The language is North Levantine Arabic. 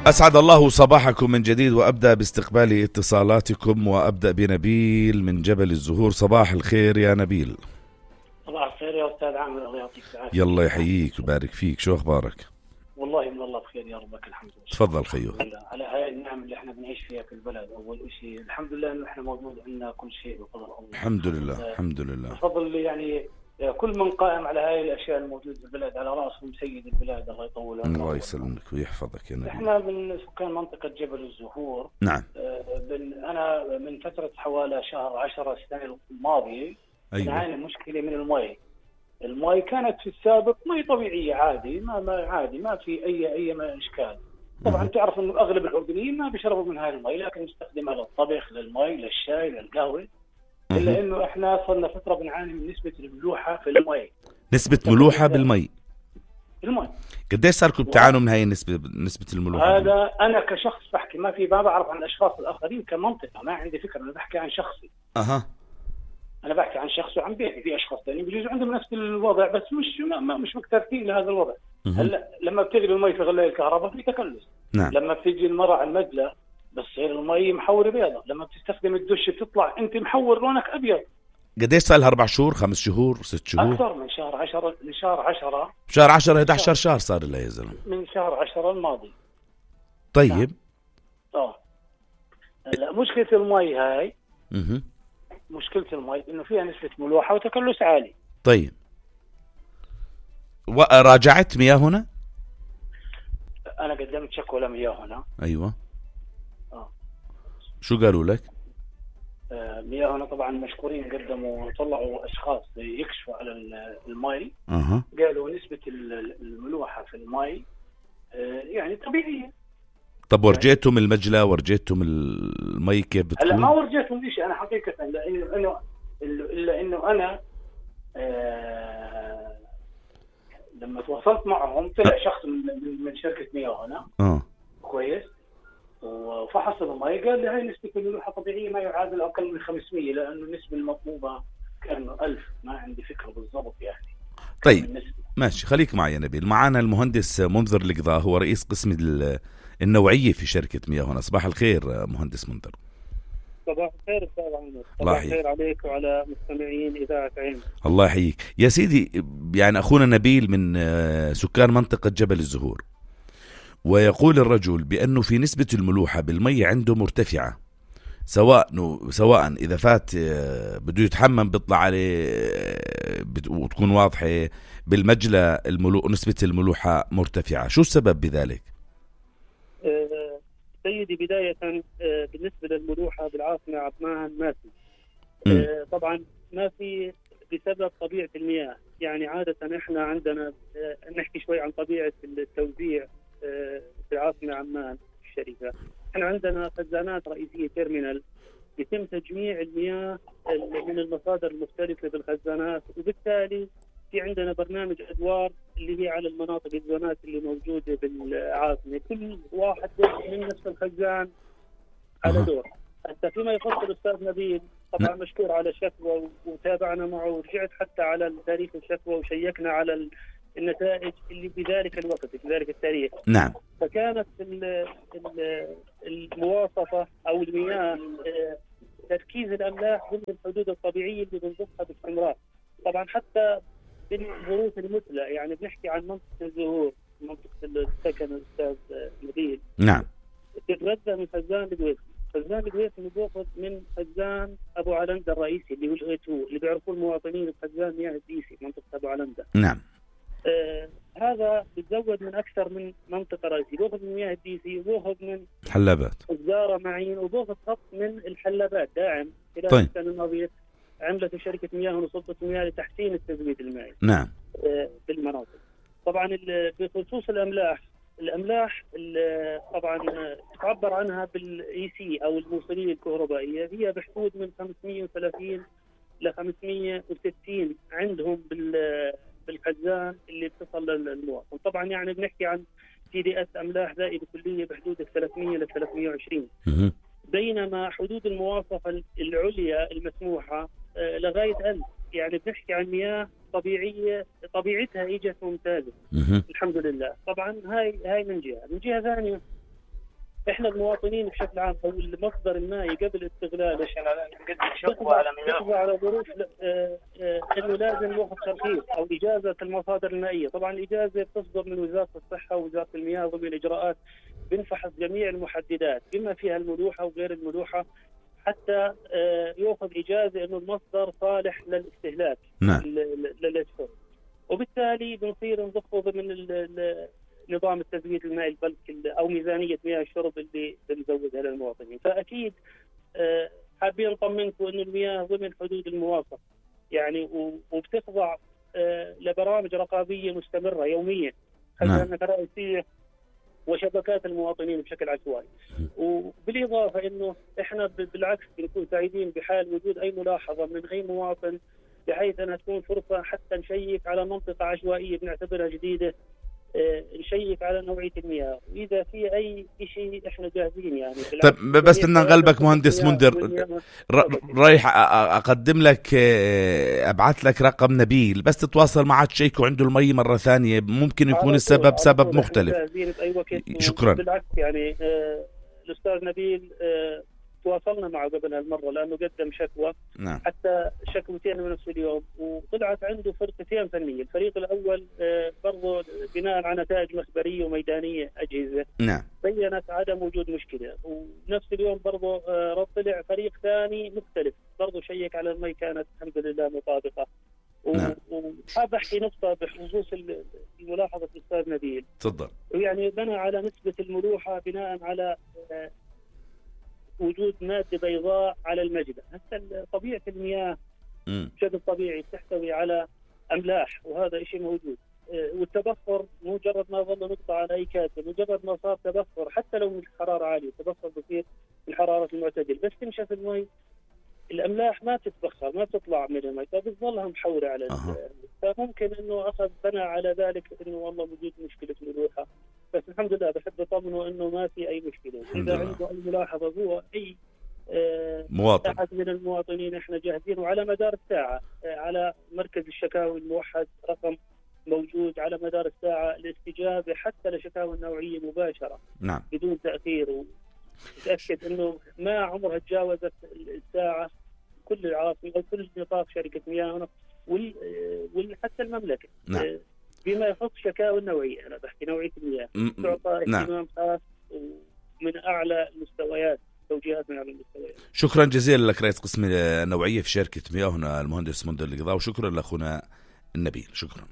أسعد الله صباحكم من جديد، وأبدأ باستقبال اتصالاتكم، وأبدأ بنبيل من جبل الزهور. صباح الخير يا نبيل. صباح الخير يا أستاذ عامر، الله يعطيك العافية. يلا يحييك ويبارك فيك، شو أخبارك؟ والله من الله بخير يا ربك الحمد لله. تفضل خيو. على هاي النعم اللي احنا بنعيش فيها في البلد. أول شيء الحمد لله إنه احنا موجود عندنا كل شيء بفضل الله. الحمد لله الحمد لله. بفضل يعني كل من قائم على هاي الأشياء الموجودة في البلد، على رأسهم سيد البلاد الله يطول عمره. الله يسلمك ويحفظك يا نبيل. احنا من سكان منطقة جبل الزهور. نعم. أنا من فترة حوالي شهر 10 السنة الماضية نعاني مشكلة من المي كانت في السابق مي طبيعية عادي، ما في أي إشكال. طبعا تعرف إنه أغلب الأردنيين ما بيشربوا من هاي المي، لكن نستخدمها للطبخ، للمي، للشاي، للقهوة. إلا إنه إحنا صرنا فترة بنعاني من نسبة الملوحة في المي. نسبة ملوحة بالمي. المي. قديش صاركم بتعانوا من هاي نسبة الملوحة؟ هذا أنا كشخص بحكي، ما بعرف عن الأشخاص الآخرين كمنطقة، ما عندي فكرة، أنا بحكي عن شخصي. أنا بحكي عن شخص وعن بيتي، في أشخاص ثانيين بيجوز عندهم نفس الوضع، بس مش مكترثين لهذا الوضع. هلا لما بتغلي المي في غلاية الكهرباء في تكلس. نعم. لما بتيجي المرة على المدلة بتصير المي محورة بيضة، لما بتستخدم الدش بتطلع أنت محور لونك أبيض. قديش صار لها 4 شهور 5 شهور 6 شهور؟ أكثر من شهر 10. من شهر 10 شهر 10 11 شهر صار لها يا زلمة. من شهر 10 الماضي. طيب. هلا مشكلة المي هاي. مشكلة المي إنه فيها نسبة ملوحة وتكلس عالي. طيب. راجعت مياهنا؟ أنا قدمت شكوى لمياهنا. أيوة. شو قالوا لك؟ مياهنا طبعا مشكورين، قدموا طلعوا أشخاص يكشفوا على المي. قالوا نسبة الملوحة في المي يعني طبيعية. طب ورجيتهم المجلة، ورجيتهم المي كيف بتكون؟ هلا ما ورجيتهم شيء أنا حقيقة، إلا إنه أنا لما تواصلت معهم طلع شخص من شركة مياهنا. كويس. وفحص المي قال لي هاي نسبة الملوحة طبيعية ما يعادل أقل من 500، لأنه النسبة المطلوبة كأنه 1000. ما عندي فكرة بالضبط يعني. طيب ماشي، خليك معي يا نبيل. معنا المهندس منذر القضاء، هو رئيس قسم النوعية في شركة مياهنا. صباح الخير مهندس منذر. صباح الخير أستاذ عمر. صباح الخير عليك وعلى مستمعين إذاعة عين. الله يحييك يا سيدي. يعني أخونا نبيل من سكان منطقة جبل الزهور، ويقول الرجل بأنه في نسبة الملوحة بالمي عنده مرتفعة، سواء إذا فات بده يتحمم بيطلع عليه وتكون واضحة بالمجلى نسبة الملوحة مرتفعة. شو السبب بذلك؟ سيدي بداية بالنسبة للملوحة بالعاصمة عمان ما في. طبعا ما في بسبب طبيعة المياه. يعني عادة احنا عندنا نحكي شوي عن طبيعة التوزيع في العاصمة عمان الشركة. احنا عندنا خزانات رئيسية تيرمينال يتم تجميع المياه من المصادر المختلفة بالخزانات، وبالتالي في عندنا برنامج أدوار اللي هي على المناطق الزونات اللي موجودة بالعاصمة، كل واحد من نفس الخزان على دور. حتى فيما يخص الأستاذ نبيل طبعا مشكور على شكوى وتابعنا معه، ورجعت حتى على تاريخ الشكوى وشيكنا على النتائج اللي في ذلك الوقت في ذلك التاريخ. نعم. فكانت المواصفة أو المياه تركيز الأملاح ضمن الحدود الطبيعية اللي بنضبطها باستمرار. طبعا حتى بالظروف المثلى، يعني بنحكي عن منطقة الزهور، منطقة السكن الأستاذ نبيل. نعم. تتغذى من خزان القويس. خزان القويس بياخذ من خزان أبو علندة الرئيسي اللي هو الغيتو، اللي بيعرفوه المواطنين بخزان مياه الديسي منطقة أبو علندة. نعم. هذا بتزود من أكثر من منطقة رئيسية، بأخذ من مياه الديسي وبأخذ من حلبات الزارة معين وبأخذ خط من الحلبات داعم. خلال السنة الماضية عملت شركة مياه ونصبة مياه لتحسين التزويد المائي. نعم. بالمناطق. طبعا بخصوص الأملاح طبعا تعبر عنها بالاي سي او الموصليه الكهربائيه، هي بحدود من 530 ل 560 عندهم بالخزان اللي بتصل للمواطن. طبعا يعني بنحكي عن تي دي اس املاح ذائبه كليه بحدود 300 ل 320، بينما حدود المواصفه العليا المسموحه لغايه 1000. يعني بنحكي عن مياه طبيعيه طبيعتها اجت ممتازه الحمد لله. طبعا هاي من جهه ثانيه احنا المواطنين بشكل عام او المصدر المائي قبل استغلاله تخضع على ظروف انه لازم ياخذ ترخيص او اجازه المصادر المائيه. طبعا الاجازه بتصدر من وزاره الصحه ووزاره المياه ضمن الاجراءات، بنفحص جميع المحددات بما فيها الملوحه وغير الملوحه حتى ياخذ اجازه انه المصدر صالح للاستهلاك. نعم. للشرب، وبالتالي بنصير نضخه ضمن نظام التزويد المائي البلك او ميزانيه مياه الشرب اللي بنزودها للمواطنين. فاكيد حابين نطمنكم انه المياه ضمن حدود المواصفه يعني، وبتخضع لبرامج رقابيه مستمره يوميا خزانه رئيسيه وشبكات المواطنين بشكل عشوائي. وبالاضافه انه احنا بالعكس بنكون سعيدين بحال وجود اي ملاحظه من اي مواطن، بحيث انها تكون فرصه حتى نشيك على منطقه عشوائيه بنعتبرها جديده، نشيك على نوعيه المياه، واذا في اي شيء احنا جاهزين يعني. طيب بس بدنا نغلبك مهندس منذر، رايح اقدم لك ابعث لك رقم نبيل بس تتواصل معه تشيكوا عنده المي مره ثانيه، ممكن يكون السبب سبب مختلف. شكرا. بالعكس يعني الاستاذ نبيل تواصلنا معه قبل هالمره لانه قدم شكوى. نعم. حتى شكوتين من نفس اليوم، وطلعت عنده فرقتين فنيه. الفريق الاول برضه بناء على نتائج مخبريه وميدانيه اجهزه. نعم. بينت عدم وجود مشكله، ونفس اليوم برضه طلع فريق ثاني مختلف برضه شيك على المي كانت الحمد لله مطابقه. نعم. وحاب احكي نقطه بخصوص الملاحظه الاستاذ نبيل. تفضل. يعني بنى على نسبه الملوحه بناء على وجود مادة بيضاء على المجدة. هسه طبيعة المياه بشكل طبيعي تحتوي على أملاح، وهذا شيء موجود. والتبخر مجرد ما ظل نقطة على أي كاتب، مجرد ما صار تبخر حتى لو من الحرارة عالية، التبخر بصير الحرارة المعتدل، بس تنشف المي الأملاح ما تتبخر ما تطلع من المي، فبتظلها محورة على فممكن إنه أخذ بنى على ذلك إنه والله وجود مشكلة ملوحة. بس الحمد لله بحب أطمنه إنه ما في أي مشكلة. إذا عنده أي ملاحظة هو أي مواطن أحد من المواطنين إحنا جاهزين، وعلى مدار الساعة على مركز الشكاوي الموحد رقم موجود على مدار الساعة الاستجابة حتى لشكاوى النوعية مباشرة. نعم. بدون تأخير، وتأكد إنه ما عمرها تجاوزت الساعة كل العاصمة أو كل نطاق شركة مياه وحتى المملكة. نعم. بما يخص شكاوى النوعية، أنا بحكي نوعية المياه تعطى اهتمام خاص ومن أعلى المستويات، توجيهات من أعلى المستويات. شكرا جزيلا لك رئيس قسم النوعية في شركة مياه هنا المهندس منذر القضاء، وشكرا لأخونا النبيل. شكرا.